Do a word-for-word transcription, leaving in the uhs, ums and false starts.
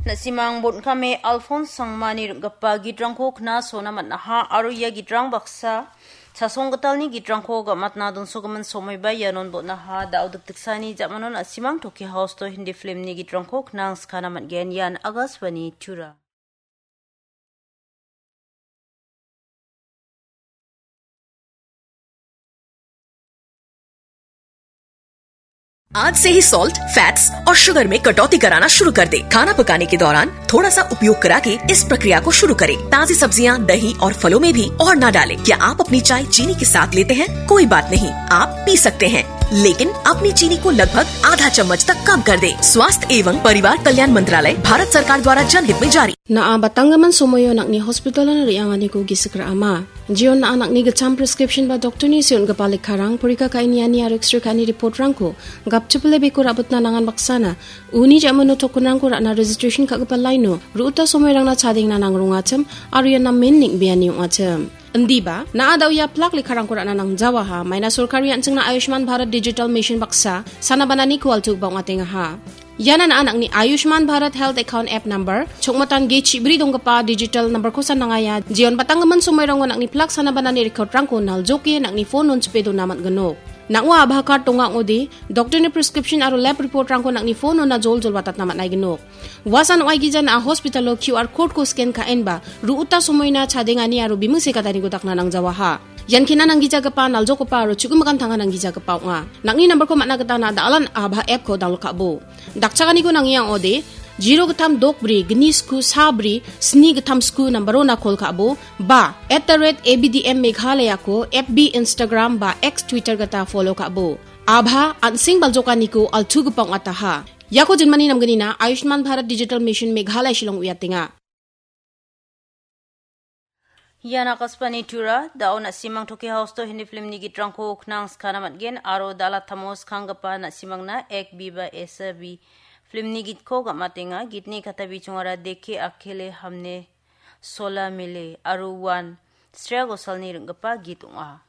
Na·simang bon·kame Alphonse Sangmani rim·gipa gitrangko knasona man·aha aro ia gitrang baksa Chasonggitalni gitrangko gamatna donsogimin somoiba ianon bon·aha. Da·o dikdiksani ja·manon na·simang Tokyo House-o Hindi filmni gitrangko knangskana man·gen. Ian Akashvani Tura. आज से ही salt, fats और शुगर में कटौती कराना शुरू कर दे। खाना पकाने के दौरान थोड़ा सा उपयोग करा के इस प्रक्रिया को शुरू करें। ताजी सब्जियां, दही और फलों में भी और ना डालें। क्या आप अपनी चाय चीनी के साथ लेते हैं? कोई बात नहीं, आप पी सकते हैं, लेकिन अपनी चीनी को लगभग आधा चम्मच तक कम कर दें। स्वास्थ्य एवं परिवार कल्याण मंत्रालय, भारत सरकार द्वारा जनहित में जारी। Na·a batanggimin somoio nang·ni hospital-o re·anganiko gisik ra·ama. Jeon na·a nang·ni gitcham prescription ba doktorni see on·gipa lekkarang, porika ka·e niani aro X-ray ka·ani report-rangko gapchipile beko ra·bitna nangan baksana uni ja·mano token-rangko ra·na registration ka·gipa line-o ru·uta somoirangna chadengna nangrongachim aro ian namen neng·beani ong·achim. Indiba, na·a da·o ia plak lekkarangko ra·na nangjawaha, maina sorkari an·chingna Ayushman Bharat Digital Mission baksa sanabananiko altugipa ong·atengaha. Iana na·a nang·ni Ayushman Bharat Health Account App Number, chokmatan ge chibri donggipa digital number-ko sanangaia, jeon batanggimin somoirango nang·ni plak sanabanani record-rangko naljoke nang·ni phone-on chipe dona man·ginok. Nang·o Aadhaar card donga ong·ode, doktorni prescription aro lab report-rangko nang·ni phone-ona joljol watatna man·aiginok. Uasan ong·aigija na·a hospital-o Q R code-ko scan ka·enba, ru·uta somoina chadengani aro biming sekataniko dakna nangjawaha. Ian kena nanggijagipa, naljokgipa aro chu·gimikan tanga nanggijagipa ong·a. Nang·ni number-ko man·na gita na·a da·alan Aadhaar app-ko download ka·bo. Dakchakaniko nangia ong·ode, zero gittam dok bri, gni sku sa bri, sni gittam sku number-ona call ka·bo, ba, at the rate A B D M Meghalaya-ko F B, Instagram ba X, Twitter gita follow ka·bo. Aadhaar an·seng baljokaniko altugipa ong·ataha. Iako jinmani namgnina Ayushman Bharat Digital Mission Meghalaya Shillong uiatenga. Ian Akashvani Tura, da·o na·simang Tokyo House-o Hindi filmni gitrangko knangskana man·gen aro da·ala tamo skanggipa na·simangna Ek Bhi Ba Aisa Bhi filmni gitko gam·atenga. Gitni kata bijongara Dekhe Akele Hamne Sola Mile aro uan Shreya Ghoshal-ni rim·gipa git ong·a.